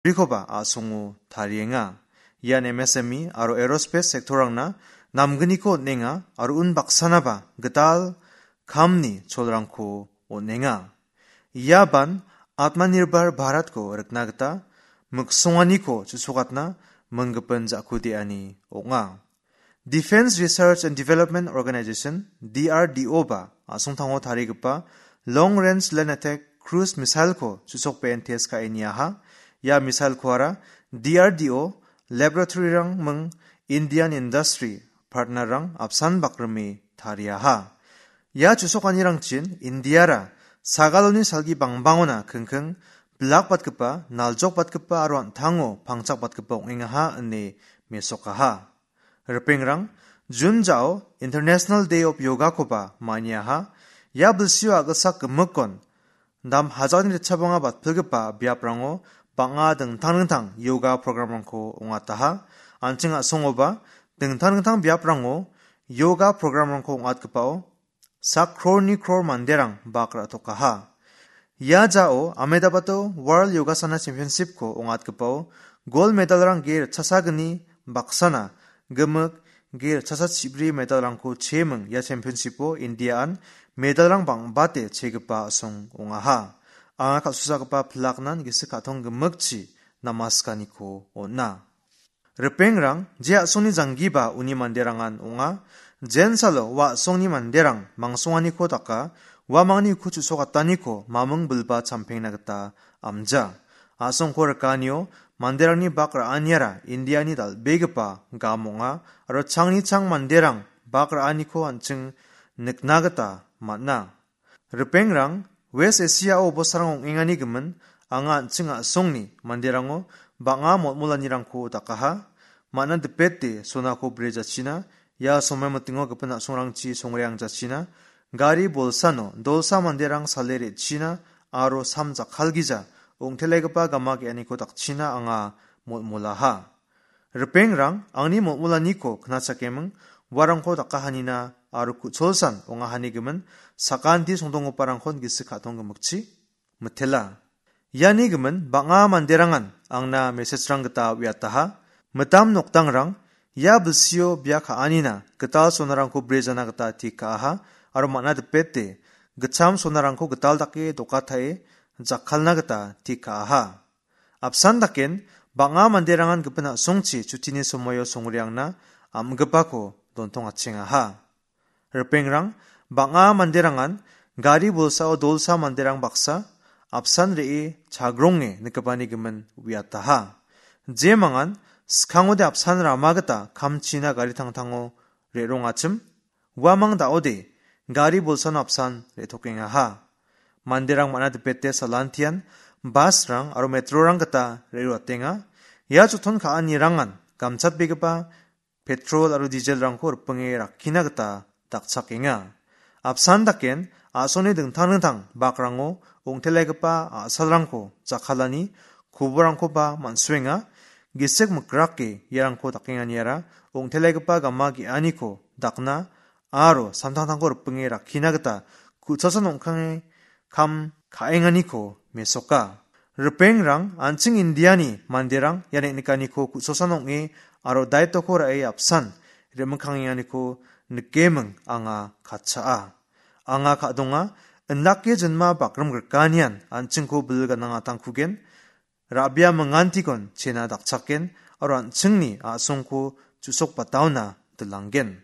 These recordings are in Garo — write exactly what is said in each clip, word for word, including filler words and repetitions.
rikoba a·songo tarienga. Ian M S M E aro aerospace sector-rangna namgniko on·enga aro unbaksanaba gital kamni cholrangko on·enga. Iaban Atmanirbhar Bharatko rikna gita miksonganiko chu·sokatna minggipin ja·kudeani ong·a. Defense Research and Development Organization, D R D O ba, a·songtango tarigipa Long Range Land Attack Cruise Missile-ko chu·sokbeen test ka·e niaha. Ia missile-koara D R D O laboratory-rang ming Indian industry partner-rang apsan bakrime tariaha. Ia chu·sokanirangchin Indiara sagaloni salgi bangbangona kingking bilakbatgipa, naljokbatgipa aro an·tango pangchakbatgipa ong·engaha ine mesokaha. Ripengrang, June jao International Day of Yoga-koba maniaha. Ia bilsio a·gilsak gimikon dam hajalni ritchabonga batpilgipa biaprango bang·a dingtang dingtang yoga program-rangko ong·ataha. An·ching a·songoba dingtang dingtang biaprango yoga program-rangko ong·atgipao sak krorni kror manderang bak ra·tokaha. Ia jao Ahmedabado World Yogasana Championship-ko ong·atgipao gold medal-rang ge ritchasagni baksana gimik ge ritchasa chibri medal-rangko cheming ia championship-o India-an medal-rang bang·bate chegipa a·song ong·aha. Anga kal·susagipa pilaknan gisik ka·tong gimikchi namaskaniko on·a. Ripengrang, je a·songni janggiba uni manderangan ong·a. Jensalo ua a·songni manderang mangsonganiko daka, uamangni uko chu·sokataniko maming bilba champengna gita amja. A·songko rikanio manderangni bak ra·aniara Indiani dal·begipa gam ong·a, aro changni chang manderang bak ra·aniko an·ching nikna gita man·a. Ripengrang, West Asia-o bosarang ong·engani gimin, anga an·ching a·songni manderango bang·a motmolanirangko dakaha. Man·a dipete sonako brejachina, ia somoi mitingo gipin a·songrangchi songreangjachina, gari bolsano dolsa manderang sale re·china aro sam jakkalgija ong·telegipa gama ge·aniko dakchina anga motmolaha. Ripengrang, angni motmolaniko knachakeming, uarangko dakahanina aro ku·cholsan ongahani gimin, sakanti songdonggiparangkon gisik ka·tong gimikchi mitela. Iani gimin, bang·a manderangan angna message-rang gita uiataha. Mitam nokdangrang, ia bilsio bia ka·anina gital sonarangko brejana gita tik ka·aha, aro man·a dipete, gitcham sonarangko gital dake dokatae jakkalna gita tik ka·aha. Apsan daken, bang·a manderangan gipin a·songchi chutini somoio songreangna am·gipako dontongachengaha. Ripengrang, bang·a manderangan gari bolsao dolsa manderang baksa apsan re·e chagronge nikgipani gimin uiataha. Jemangan, skangode apsan rama gita kamchina gari tangtango re·rongachim, uamang da·ode gari bolsano apsan re·tokengaha. Manderang man·a dipete salantian bus-rang aro metro-rang gita re·roatenga. Ia joton ka·anirangan gamchatbegipa petrol aro diesel-rangko ripinge rakkina gita dakchakenga. Apsan daken a·songni dingtang dingtang bakrango ong·telegipa a·salrangko jakkalani koborangkoba man·suenga. Gisik mikrake iarangko dakenganiara ong·telegipa gama ge·aniko dakna aro samtangtangko ripinge rakkina gita ku·cholsan ong·kange kam ka·enganiko mesoka. Ripengrang, an·ching Indiani manderang ia neng·nikaniko ku·cholsan ong·e aro daitoko ra·e apsan re·mikkangenganiko nikeming anga katchaa. Anga ka·donga, indake jinma bakrim grikanian an·chingko bil ganangatangkugen, ra·bia mingantikon chena dakchaken, aro an·chingni a·songko chu·sokbataona dilanggen.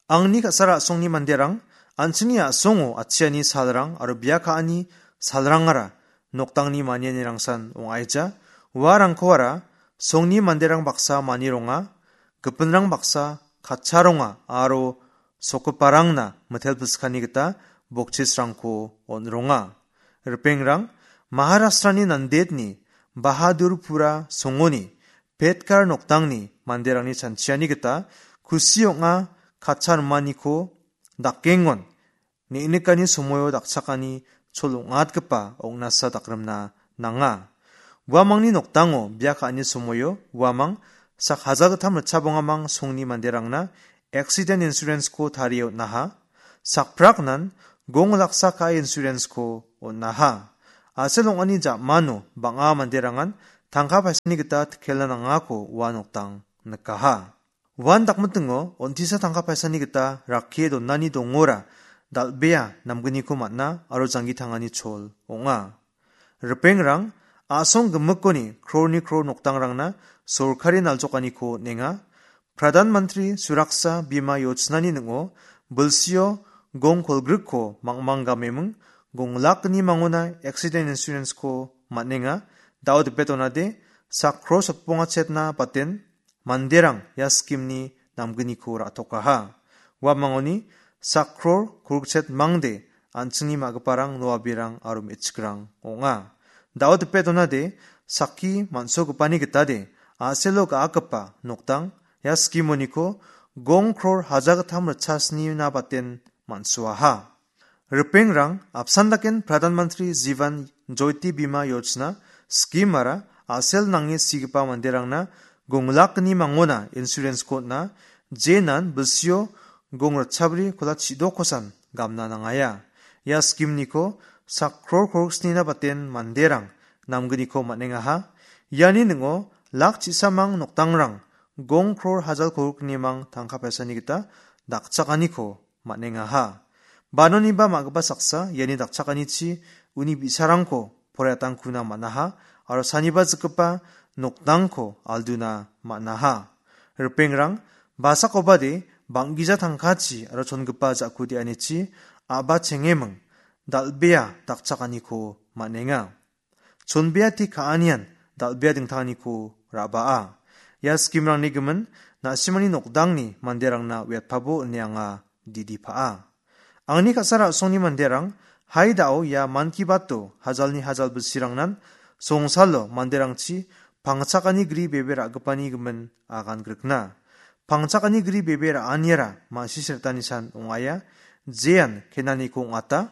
Angni ka·sara a·songni manderang, an·chingni a·songo atchiani salrang aro bia ka·ani salrangara nokdangni manianirangsan ong·aija. Uarangkoara songni manderang baksa manironga, gipinrang baksa katcharonga aro sokgiparangna mitel piskani gita bokchisrangko on·ronga. Ripengrang, Maharashtrani Nandedni Bahadurpura songoni Petkar nokdangni manderangni chanchiani gita kusi ong·a katcha rimaniko dakengon neng·nikani somoio dakchakani chol ong·atgipa ong·nasa dakrimna nanga. Uamangni nokdango bia ka·ani somoio uamang sak hajalgittam ritchabongamang songni manderangna accident insurance-ko tarie on·aha. Sakpraknan gong laksa ka·e insurance-ko on·aha. A·sel ong·ani ja·mano bang·a manderangan tangka paisani gita tikela nangako ua nokdang nikaha. Uan dakmitingo on·tisa tangka paisani gita rakkie donani dongora dal·bea namgniko man·a aro janggi tangani chol ong·a. Ripengrang a·song gimikoni krorni kror nokdangrangna sorkari naljokaniko on·enga. Pradhan Mantri Suraksa Bima Yojnani ning·o bilsio gong kolgrikko mangmang gameming gong lakni mangona accident insurance-ko man·enga. Dao dipe donade sak kro sotbonga chetna baten manderang ia scheme-ni namgniko ra·tokaha. Uamangoni sak kror kolgrik chet mangde an·chingni ma·giparang noabirang aro me·chikrang ong·a. Dao dipe donade sakki man·sogipani gitade a·selo ga·akgipa nokdang ia scheme-oniko gong kror haja gittam ritchasnina baten man·suaha. Ripengrang apsan daken Pradhan Mantri Jivan Jyoti Bima Yojna scheme-ara a·sel nange sigipa manderangna gong lakni mangona insurance-ko on·a, jenan bilsio gong ritchabri kola chidokosan gamna nangaia. Ia scheme-niko sak kror kolgrik snina baten manderang namgniko man·engaha. Iani ning·o lak chisamang nokdangrang gong kror hajal kolgriknimang tangka paisani gita dakchakaniko man·engaha. Banoniba ma·gipa saksa iani dakchakanichi uni bi·sarangko poraiatangkuna man·aha aro saniba jikgipa nokdangko alduna man·aha. Ripengrang, basakobade bang·gija tangkachi aro chongipa ja·ku de·anichi a·ba chengeming dal·bea dakchakaniko man·enga. Chonbea te ka·anian dal·bea dingtanganiko ra·baa. Ia scheme-rangni gimin na·simangni nokdangni manderangna uiatpabo ine anga didi pa·a. Angni ka·sa ra·songni manderang, hai da·o ia Mann Ki Bato hajalni hajal bilsirangnan songsalo manderangchi pangchakani gri bebe ra·gipani gimin agan grikna. Pangchakani gri bebe ra·aniara ma·sisretanisan ong·aia, jean kenaniko ong·ata.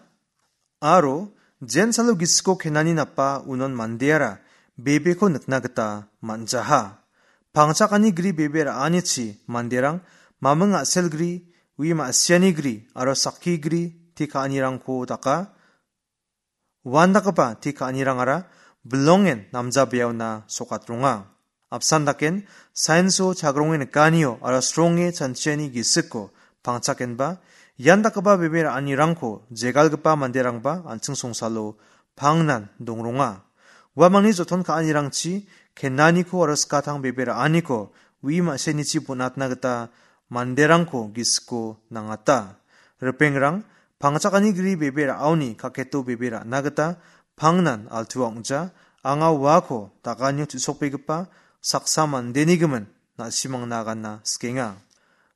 Aro jensalo gisiko kenani napa unon mandeara bebeko nikna gita man·jaha. Pangchakani gri bebe ra·anichi manderang maming a·sel gri, ui ma·siani gri aro sakki gri te ka·anirangko daka. Uandakgipa te ka·anirangara bilongen namjabeaona sokatronga. Apsan daken, sainso chagronge nikanio aro sronge chanchiani gisiko pangchakenba, ian dakgipa bebe ra·anirangko jegalgipa manderangba an·ching songsalo pangnan dongronga. Uamangni joton ka·anirangchi kenaniko aro skatang bebe ra·aniko ui ma·senichi bonatna gita manderangko gisiko nangata. Ripengrang, pangchakani gri bebe ra·aoni kaketo bebe ra·na gita pangnan altua ong·ja, anga uako daganio chu·sokbegipa saksa mandeni gimin na·simangna aganna sikenga.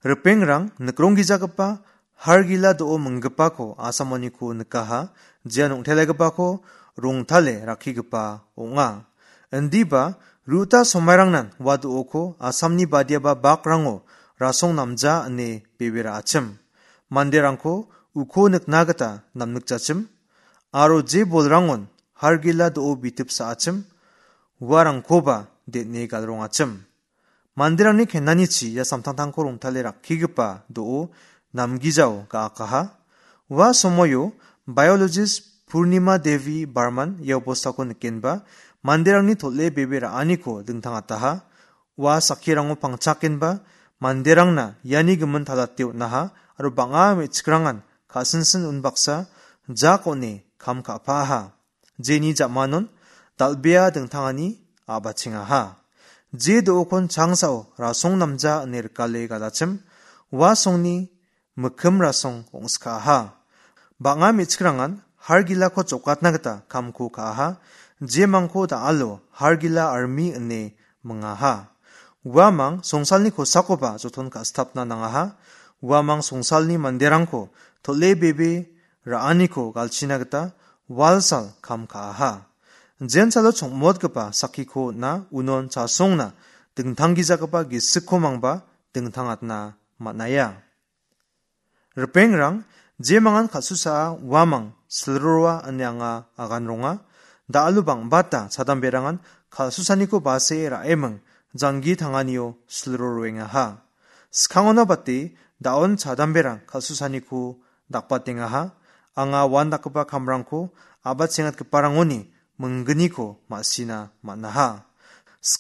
Ripengrang, nikronggijagipa hargila do·o minggipako asamoniko nikaha, jean ong·telegipako rongtale rakkigipa ong·a. Indiba, ruta somairangnan ua do·oko Asamni badiaba bakrango rasong namja ine bebe ra·achim. Manderangko uko nikna gita namnikjachim, aro je bolrangon hargila do·o bitip sa·achim, uarangkoba den·e galrongachim. Manderangni kenanichi ia samtangtangko rongtale rakkigipa do·o namgijao ga·akaha. Ua somoio biologist Purnima Devi Barman ia obostako nikenba manderangni tol·e bebe ra·aniko dingtangataha. Ua sakkirango pangchakenba manderangna iani gimin talate on·aha aro bang·a me·chikrangan ka·sinsin unbaksa jak on·e kam ka·paaha. Jeni ja·manon dal·bea dingtangani a·bachengaha. Je do·okon changsao rasong namja ine rikale galachim, ua songni mikkim rasong ong·skaaha. Bang·a me·chikrangan hargilako jokatna gita kamko ka·aha, jemangko da·alo hargila armi ine mingaha. Uamang songsalni kosakoba joton ka·sitapna nangaha. Uamang songsalni manderangko tol·e bebe ra·aniko galchina gita walsal kam ka·aha. Jensalo chongmotgipa sakkiko on·a, unon chasongna dingtanggijagipa gisikko mangba dingtangatna man·aia. Ripengrang, jemangan kal·susaa uamang silroroa ine anga aganronga. Da·alo bang·bata chadamberangan kal·susaniko base ra·eming janggi tanganio silroroengaha. Skangona bate da·on chadamberang kal·susaniko dakbatengaha. Anga uandakgipa kamrangko a·bachengatgiparangoni minggniko ma·sina man·aha. Sky